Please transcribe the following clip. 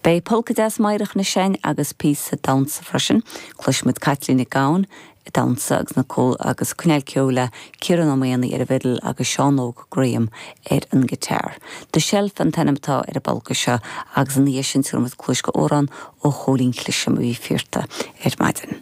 Beidh polca deas meidhreach anois againn agus píosa damhsa freisin. Cloisfimid Caitlín Nic Gabhann ag damhsa agus na agus ag coinneáil ceoil le Ciarán Ó Maonaigh ar an bhfidil agus Seán Óg Graham ar an guitar. The Shelf an t-ainm atá ar an bpolca seo agus ina dhiaidh sin tabharfaidh muid cluas d'amhrán ó Chóilín Clisham a bhí fiarta ar maidin.